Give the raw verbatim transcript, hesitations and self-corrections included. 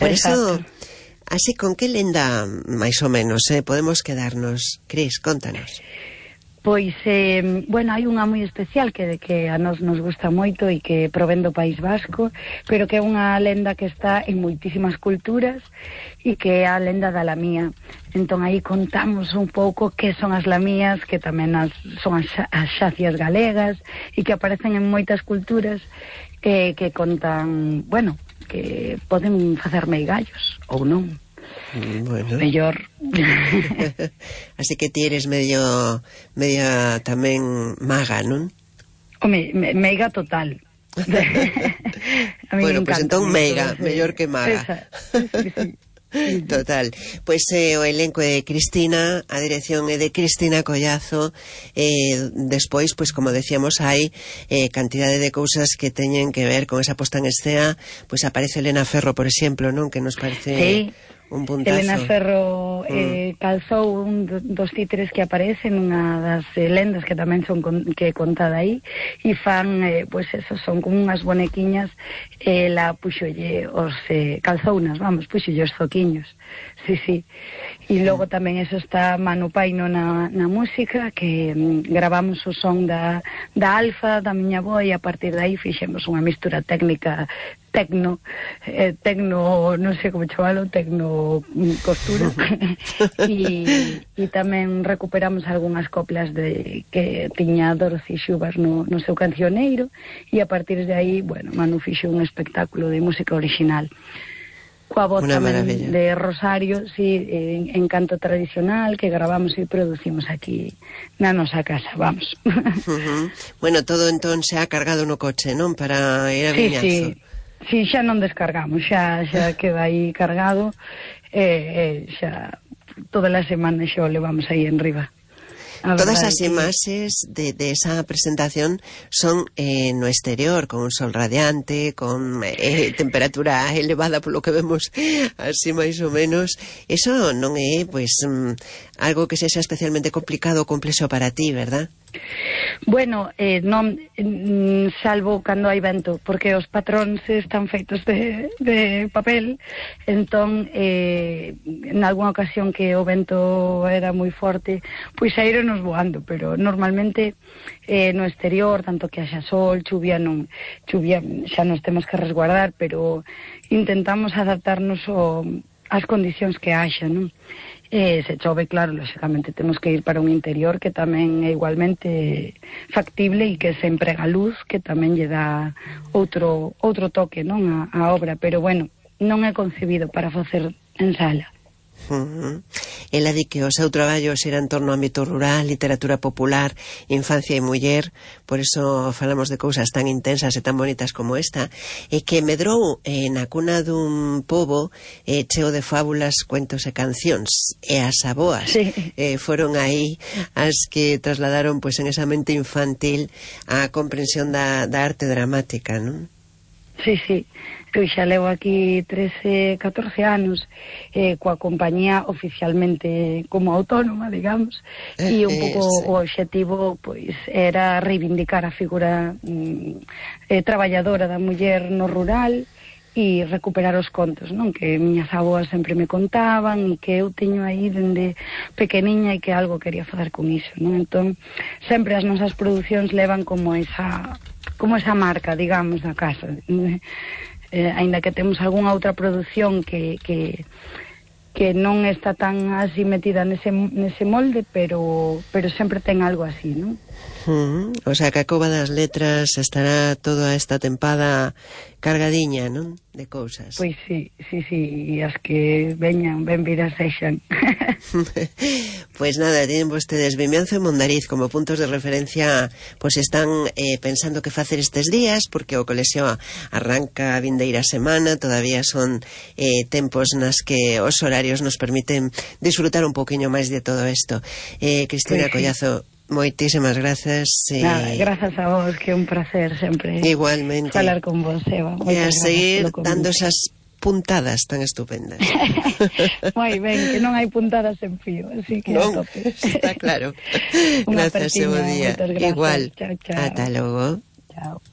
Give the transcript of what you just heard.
Por Exacto. Eso, así, con que lenda, máis ou menos, eh, podemos quedarnos? Cris, contanos. Pois, eh, bueno, hai unha moi especial que, que a nos nos gusta moito e que provén do País Vasco, pero que é unha lenda que está en moitísimas culturas e que é a lenda da lamía. Entón aí contamos un pouco que son as lamías, que tamén as, son as, as xacias galegas e que aparecen en moitas culturas, eh, que contan, bueno, que poden facer meigallos ou non. Bueno. Mellor. Así que ti eres medio media tamén maga, non? Home, me, meiga total. Bueno, pois pues entón meiga, mellor que maga. Esa, sí, sí. Total. Pois pues, eh, o elenco é de Cristina, a dirección é de Cristina Collazo, eh, despois, pois pues, como decíamos, hai eh, cantidade de cousas que teñen que ver con esa posta en escena. Pois pues, aparece Elena Ferro, por exemplo, non? Que nos parece... Sí. Un puntazo. Elena Ferro eh, mm. calzou un dos títeres que aparecen, unha das eh, lendas que tamén son con, que contada aí, e fan, eh, pois pues eso, son como unhas bonequiñas, eh, la puxolle os eh, calzounas, vamos, puxolle os zoquiños, sí, sí. E logo tamén eso está Manu Paino na, na música, que mm, gravamos o son da, da Alfa, da miña voz, e a partir de aí fixemos unha mistura técnica tecno, eh, tecno, non sei como chamalo, tecno costura, e, e tamén recuperamos algunhas coplas de que tiña Dorothy Xubas no, no seu cancioneiro, e a partir de aí, bueno, Manu fixo un espectáculo de música original. Coa voz Una tamén maravilla. de Rosario, sí, en, en canto tradicional, que gravamos e producimos aquí na nosa casa, vamos. Uh-huh. Bueno, todo entón se ha cargado no coche, non? Para ir a sí, Viñazo. Sí, sí, xa non descargamos, xa, xa queda aí cargado, e eh, xa todas as semanas xa o levamos aí en riba. Todas as imaxes de, de esa presentación son eh, no exterior, con un sol radiante, con eh, temperatura elevada polo que vemos así máis ou menos. Eso non é, pois, um, algo que sexa especialmente complicado ou complexo para ti, verdad? Bueno, eh, non, salvo cando hai vento, porque os patróns están feitos de, de papel, entón eh, en algunha ocasión que o vento era moi forte, pois saíronos voando, pero normalmente eh, no exterior, tanto que haxa sol, chuvia, non, chuvia xa nos temos que resguardar, pero intentamos adaptarnos ao, ás condicións que haxa, non? Eh, se chove, claro, lógicamente temos que ir para un interior que tamén é igualmente factible e que se emprega luz, que tamén lle dá outro outro toque, non, a, a obra, pero bueno, non é concebido para facer en sala. Uh-huh. Ela di que o seu traballo será en torno ao ámbito rural, literatura popular, infancia e muller, por eso falamos de cousas tan intensas e tan bonitas como esta, e que medrou eh, na cuna dun pobo eh, cheo de fábulas, cuentos e cancións, e as aboas sí. eh, foron aí as que trasladaron pois en esa mente infantil a comprensión da, da arte dramática, non? Sí, sí. Eu xa levo aquí trece, catorce anos eh, coa compañía oficialmente como autónoma, digamos, e un pouco eh, sí. o obxectivo pois era reivindicar a figura mm, eh, traballadora da muller no rural e recuperar os contos, non? Que miñas aboas sempre me contaban e que eu teño aí dende pequeniña e que algo quería facer con iso, non? Entón, sempre as nosas producións levan como esa como esa marca, digamos, da casa. Eh, aínda que temos algunha outra produción que, que, que non está tan así metida nese, nese molde, pero, pero sempre ten algo así, non? Uh-huh. O sea, que a Cova das Letras estará toda esta tempada cargadiña, non? De cousas. Pois sí, sí, sí, e as que veñan, ben vidas sexan. Pois nada, tienen vostedes Vimianzo e Mondariz como puntos de referencia, pois están eh, pensando que facer estes días, porque o colexio arranca a vindeira semana, todavía son eh, tempos nas que os horarios nos permiten disfrutar un poquinho máis de todo isto. Eh, Cristina pues Collazo, moitísimas grazas. Eh... Nada, grazas a vos, que é un placer sempre. Igualmente. Falar con vos, Eva. E a seguir dando esas puntadas tan estupendas. Moi ben, que non hai puntadas en fío, así que non, a tope. está claro. Unha Gracias, e bo día. Igual. Chao, chao. Ata logo. Chao.